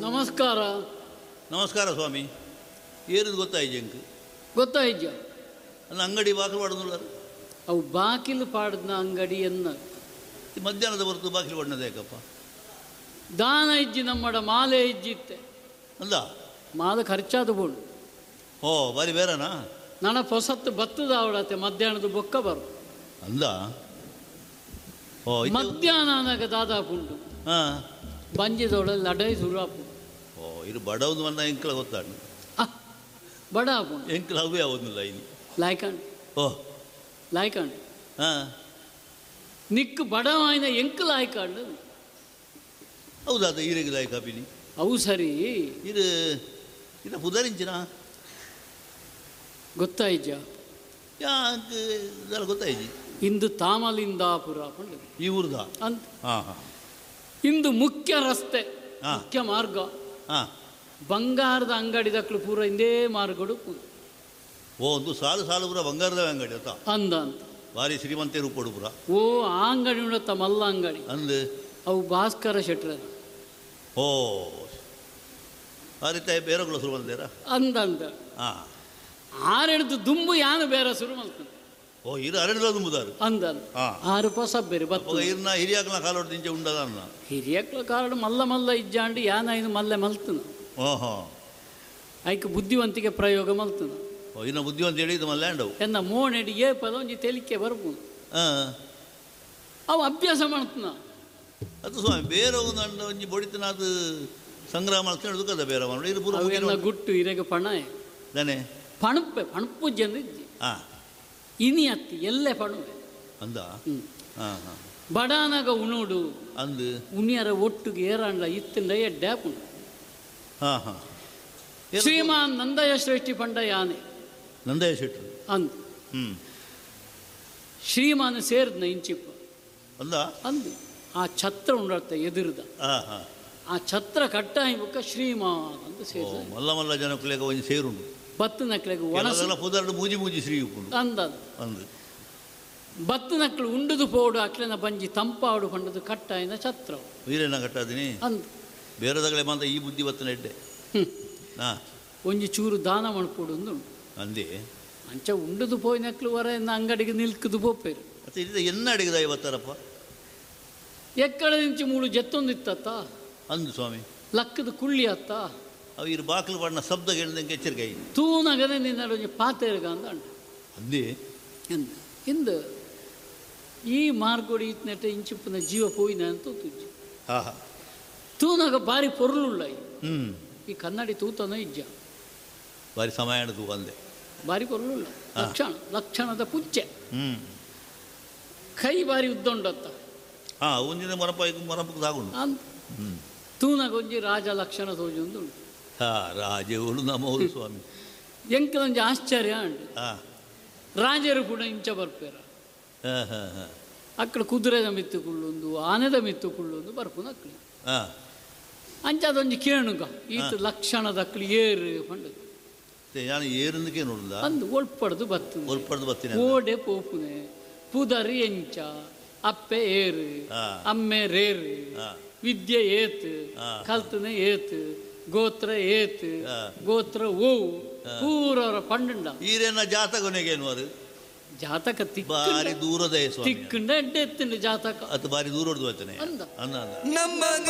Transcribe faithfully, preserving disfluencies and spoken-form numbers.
ನಮಸ್ಕಾರ. ನಮಸ್ಕಾರ ಸ್ವಾಮಿ. ಏರಿದು ಗೊತ್ತಾಯ್ತು ಎಂಕ್? ಗೊತ್ತಾಯ್ಜ. ಅಲ್ಲ ಅಂಗಡಿ ಬಾಗಿಲು ಪಾಡೋದಿಲ್ಲ. ಅವು ಬಾಕಿಲು ಪಾಡದ್ನ ಅಂಗಡಿ ಎನ್ನ ಮಧ್ಯಾಹ್ನದ ಹೊರತು ಬಾಗಿಲು ಪಾಡೋದು ಯಾಕಪ್ಪ? ದಾನ ಇಜ್ಜಿ ನಮ್ಮಡ ಮಾಲೆ ಇಜ್ಜಿತ್ತೆ ಅಲ್ಲ ಮಾಲೆ ಖರ್ಚಾದ ಬೋಡು. ಓ ಬಾರಿ ಬೇರೆನಾ? ನನ್ನ ಪೊಸತ್ತು ಬತ್ತದ ಅವಳತ್ತೆ ಮಧ್ಯಾಹ್ನದ ಬೊಕ್ಕ ಬರು ಅಂದ. ಓ ಮಧ್ಯಾಹ್ನ ಅನಾಗ ದಾದಾಪುಂಡು ಹಾಂ ಬಂಜಿದವಳ ಲಡೈ ಸುರಾಪು. ಓ ಇದು ಬಡವದು ಬಂದ ಎಂಕಲ ಗೊತ್ತಾಡ ಬಡ ಆಪುಂಡು ಎಂಕಲ ಅವೇ ಆವೊಂದಿಲ್ಲ ಇನಿ ಲಾಯ್ಕಂಡ್. ಓ ಲಾಯ್ಕಂಡ್ ಹಾಂ ನಿಕ್ಕು ಬಡವಾಯಿನ ಎಂಕಲ ಆಯ್ಕಂಡು. ಹೌದಾ? ಈರೆಗೆ ಲಾಯ್ಕ ಪಿನಿ ಅವು ಸರಿ. ಇದು ಇದು ಪುದರಿಂಚಿನ ಗೊತ್ತಾಯ್ಜ? ಯಾಕೆ ಇದೆಲ್ಲ ಗೊತ್ತಾಯ್ಜಿ. ಇಂದು ತಾಮಲಿಂದಾಪುರ ಪಂಡು ಈ ಊರ್ದ ಅಂತ. ಹಾಂ ಹಾಂ. ಇಂದು ಮುಖ್ಯ ರಸ್ತೆ, ಮುಖ್ಯ ಮಾರ್ಗ. ಹಾಂ ಬಂಗಾರದ ಅಂಗಡಿ ದಕ್ಕಲು ಪೂರ ಇಂದೇ ಮಾರ್ಗಡು. ಓ ಒಂದು ಸಾಲು ಸಾಲು ಪೂರ ಬಂಗಾರದ ಅಂಗಡಿ ಅತ್ತ ಅಂದ ಅಂತ. ಭಾರಿ ಶ್ರೀಮಂತ ರೂಪಡು ಪೂರ. ಓ ಆ ಅಂಗಡಿ ಉಂಡತ್ತ ಮಲ್ಲ ಅಂಗಡಿ ಅಂದು ಅವು ಭಾಸ್ಕರ ಶೆಟ್ರ. ಓ ಆ ರೀತಿ ಬೇರೆಗಳ ಶುರು ಬಂದೇರಾ ಅಂದ ಅಂದ. ಹಾಂ ಆರೆಡ್ದು ದುಂಬು ಯಾನು ಬೇರೆ ಶುರು ಮಲ್ತದೆ. ಓ ಇರು ಅರೆಡ್ದ ದುಂಬುದಾರು ಅಂದ. ಆರು ಪೊಸ ಬೇರೆ ಬತ್ತ ಇರ್ನ ಹಿರಿಯಾಕ್ಲ ಕಾಲೋಡ್ ದಿಂಚೆ ಉಂಡದ ಅನ್ನ ಹಿರಿಯಕ್ಲ ಕಾಲೋಡು ಮಲ್ಲ ಮಲ್ಲ ಇಜ್ಜಾಂಡು ಯಾನ ಐನು ಮಲ್ಲೆ ಮಲ್ತನ. ಓಹೋ ಐಕ್ ಬುದ್ಧಿವಂತಿಕೆ ಪ್ರಯೋಗ ಮಲ್ತನ. ಓ ಇನ್ನು ಬುದ್ಧಿವಂತ ಹೇಳಿದ್ದು ಮಲ್ಲೆ ಅಂಡವು ಎನ್ನ ಮೋನೆಡಿ ಏ ಪದ ಒಂಜಿ ತೆಲಿಕೆ ಬರ್ಬೋದು. ಹಾಂ ಅವು ಅಭ್ಯಾಸ ಮಾಡ್ತನ. ಅದು ಸ್ವಾಮಿ ಬೇರೆ ಒಂದು ಅಂಡ ಒಂಜಿ ಬೊಡಿತನ ಅದು ಸಂಗ್ರಹ ಮಾಡ್ಕೊಂಡು ಕದ ಬೇರೆ ಮಾಡಿ ಇದು ಪೂರ ಅವೆಲ್ಲ ಗುಟ್ಟು ಇರೆಗೆ ಪಣ ದನೆ ಪಣುಪ್ಪೆ ಪಣುಪ್ಪು ಜನ ಇಜ್ಜಿ. ಹಾಂ ಇನಿ ಅತ್ತಿ ಎಲ್ಲೆ ಪಣುವೆ ಅಂದ. ಹ್ಞೂ ಹಾಂ ಹಾಂ ಬಡಾನಾಗ ಉಣೋಡು ಅಂದು ಉಣಿಯರ ಒಟ್ಟಿಗೆ ಏರಾಂಡ್ಲ ಇತ್ತಿಂಡ ಎಡ್ಡೆ ಆಪುಂಡು. ಹಾಂ ಹಾಂ ಶ್ರೀಮಾನ್ ನಂದಯ ಶ್ರೇಷ್ಠಿ ಪಂಡ ಯಾನೆ ನಂದಯ ಶೆಟ್ಟರು ಅಂದು. ಹ್ಞೂ ಶ್ರೀಮಾನ್ ಸೇರಿದ್ನ ಇಂಚಿಪ್ಪ ಅಂದ ಅಂದು. ಆ ಛತ್ರ ಉಂಡರ್ತ ಎದುರ್ದ ಹಾಂ ಹಾಂ ಆ ಛತ್ರ ಕಟ್ಟಾಯಿ ಬುಕ್ಕ ಶ್ರೀಮಾನ್ ಅಂತ ಸೇರಿದ. ಮಲ್ಲ ಮಲ್ಲ ಜನಕ್ಕುಲೆಗ ಒಂಜಿ ಸೇರುಂಡು ಬತ್ತು ನಕ್ಲೆಗ್ ಒಣಸು ಪುದರ್ಡು ಮೂಜಿ ಮೂಜಿ ಶ್ರೀ ಉಪ್ಪುಂಡು ಅಂದ ಅಂದು. ಬತ್ತು ನಕ್ಲು ಉಂಡುದು ಪೋಡು ಅಕ್ಲೆನ ಬಂಜಿ ತಂಪಾಡು ಪಂಡದು ಕಟ್ಟಾಯಿನ ಛತ್ರ ವೀರನ ಕಟ್ಟಾದಿನಿ ಅಂದು. ಬೇರೆದಗಳೇ ಮಾತ್ರ ಈ ಬುದ್ಧಿ ಬತ್ತನ ಎಡ್ಡೆ. ಹಾಂ ಒಂಜಿ ಚೂರು ದಾನ ಮಣ್ಪೋಡು ಅಂದು ಅಂದೇ ಅಂಚ ಉಂಡುದು ಪೋಯಿನಕ್ಲು ವರ ಎನ್ನ ಅಂಗಡಿಗೆ ನಿಲ್ಕುದು ಪೋಪೇರು. ಮತ್ತೆ ಇದು ಎನ್ನ ಅಡಿಗೆ ದಾಯಿ ಬತ್ತಾರಪ್ಪ? ಎಕ್ಕಡ ನಿಂಚಿ ಮೂಳು ಜತ್ತೊಂದು ಇತ್ತತ್ತ ಅಂದು ಸ್ವಾಮಿ. ಲಕ್ಕದ ಕುಳ್ಳಿ ಅತ್ತ ಅವು ಇರು ಬಾಕಲು ಬಣ್ಣ ಶಬ್ದ ಕೇಳಿದಂಗೆ ಎಚ್ಚರಿಕೆ ಆಯಿ ತೂನಗನೆ ನಿನ್ನ ಒಂಜಿ ಪಾತೇರ್ಗ ಅಂದ ಅಂಡ ಅಂದೇ ಎಂದ ಇಂದು ಈ ಮಾರ್ಗೋಡಿ ಇತ್ನೆಟ ಇಂಚಿಪ್ಪನ ಜೀವ ಪೋಯಿನ ಅಂತ ತುಜ್ಜಿ. ಹಾಂ ಹಾಂ ತೂನಾಗ ಭಾರಿ ಪೊರುಳುಳ್ಳ ಹ್ಞೂ ಈ ಕನ್ನಡಿ ತೂತನ ಇಜ್ಜ ಭಾರಿ ಸಮಯ ತೂ ಅಂದೆ ಭಾರಿ ಪೊರುಳುಳ್ಳ ಲಕ್ಷಣ ಲಕ್ಷಣದ ಪುಚ್ಚೆ. ಹ್ಞೂ ಕೈ ಭಾರಿ ಉದ್ದಂಡತ್ತ. ಹಾಂ ಒಂದಿನ ಮರಪ ಮರಪಕ್ಕೆ ಸಾಗುಂಡು ಅಂತ ಹ್ಞೂ ತೂನಾಗ ಒಂಜಿ ರಾಜ ಲಕ್ಷಣ ತೋಜೊಂದು ಉಂಟು. ಹಾಂ ರಾಜೇವಳು ನಮ್ಮವರು ಸ್ವಾಮಿ. ಎಂಕಲೊಂಜಿ ಆಶ್ಚರ್ಯ ಉಂಟು. ಹಾಂ ರಾಜರು ಕೂಡ ಇಂಚ ಬರ್ಪೇರ ಹಾಂ ಹಾಂ ಹಾಂ ಅಕ್ಕಡ ಕುದುರೆದ ಮಿತ್ತು ಕುಳ್ಳೊಂದು ಆನೆದ ಮಿತ್ತು ಕುಳ್ಳೊಂದು ಬರ್ಪುನ ಅಕ್ಕಳು ಹಾಂ ಅಂಚ ಅದೊಂಜಿ ಕೇಣುಗ ಈತ ಲಕ್ಷಣದ ಅಕ್ಕಳು ಏರು ಪಂಡದು ನಾನು ಏರಂದಕ್ಕೆ ನೋಡುದ ಅಂದು ಒಳ್ಪಡ್ದು ಬತ್ತು ಒಲ್ಪಡ್ದು ಬತ್ತೀನಿ ಓಡೆ ಪೋಪುನೆ ಪುದರಿ ಎಂಚ ಅಪ್ಪೆ ಏರು ಅಮ್ಮೆ ರೇರು ವಿದ್ಯೆ ಏತ್ ಕಲ್ತನೆ ಏತ್ ಗೋತ್ರ ಏತ್ ಗೋತ್ರ ಓವು ಪೂರವರ ಪಂಡುಂಡ ಈರೇನ ಜಾತಕನೆಗೇನು ಅದು ಜಾತಕ ತಿಕ್ಕ ಬಾರಿ ದೂರದ ತಿಕ್ಕಂಡ ಎಡ್ಡೆ ಎತ್ತುಂಡು ಜಾತಕ ಅದು ಬಾರಿ ದೂರದ್ದು ಬರ್ತಾನೆ ಅಂದ ಅಂದ ನಮ್ಮ